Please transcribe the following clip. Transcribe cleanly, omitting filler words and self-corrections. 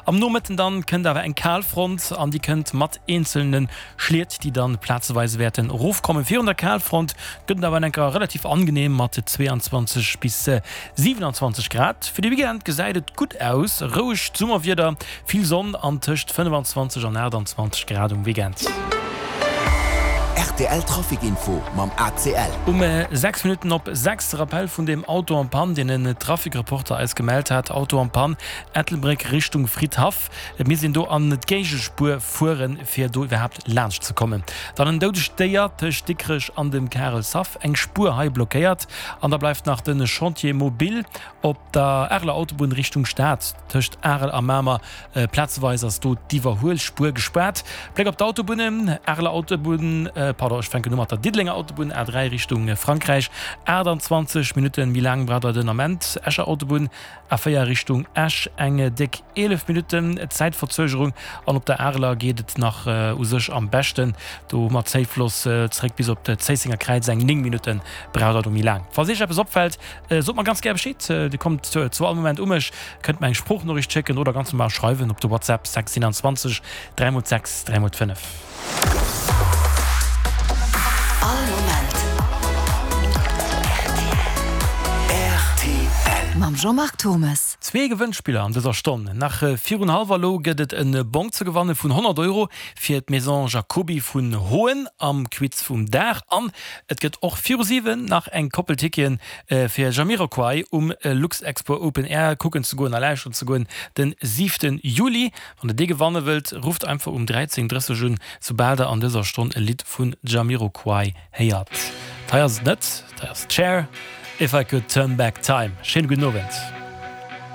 Am Nomëtten dann kënnt awer eng Kalfront an déi kënnt mat eenzelne Schliet, déi dann plazeweis wäerten erofkommen. Virun der Kalfront gëtt et awer enker relativ angenehm mat 22 bis 27 Grad. Fir de Weekend gesäit et gutt aus, rouegt Summerwieder, vill Sonn an tëscht 25 an 28 Grad um Weekend. Rtl Trafic Info mam ACL. Um 6 Minutten op 6 de Rappel vun dem Auto en Panne, deen en Trafic-Reporter eis gemellt hat. Auto en Panne, Ettelbréck Richtung Fridhaff. Et misst een do an d'Géigespuer fueren, fir do iwwerhaapt laanscht ze kommen. Dann en doudegt Déier tëscht Dikrech an dem Karelshaff, eng Spuer hei blockéiert. An da bleift nach de Chantier mobile op der Areler Autobunn Richtung Stad, tëscht Arel a Mamer. Plazeweis ass do d'Iwwerhuelspuer gespaart. Bléck op d'Autobunnen, Areler Autobunn, pardon, ech fänken u mat der Diddelenger Autobunn, A3 Richtung Frankräich, 28 Minutten méi laang braucht der den Ament. Escher Autobunn, A4 Richtung Esch eng déck 11 Minutten Zäitverzögerung an op der Areler geet et nach u sech am beschten. Do hu mer Zéifloss zeréck bis op d'Zéissenger Kräiz, eng 9 Minutte braucht der do méi laang. Falls Iech eppes opfält, sot mer ganz gär Bescheed. Dir kommt zu all Moment u mech, kënnt mer eng Sproochnoriicht schécken oder ganz normal schreiwen op de WhatsApp 6 27 3 x 6 3 x 5. All Moment rtl. Mam Jean-Marc Thommes. Zwee Gewënnspiller an dëser Stonn. Nach virun hallwer elo gëtt et en Bong ze gewanne vun 100 Euro fir d'Maison Jacoby vun Hoen am Quiz vum Dag. An et gëtt och viru 7 nach eng Koppel Ticketen fir Jamiroquai um Luxexpo Open Air kucken ze goen a lauschteren ze goen den 7 Juli. Wann der dee gewanne wëllt, rufft einfach um 13:30 un, soubal der an dëser Stonn e Lidd vun Jamiroquai héiert. Hei ass et net, hei ass d'Cher, If I Could Turn Back Time. Schéine gudden Owend.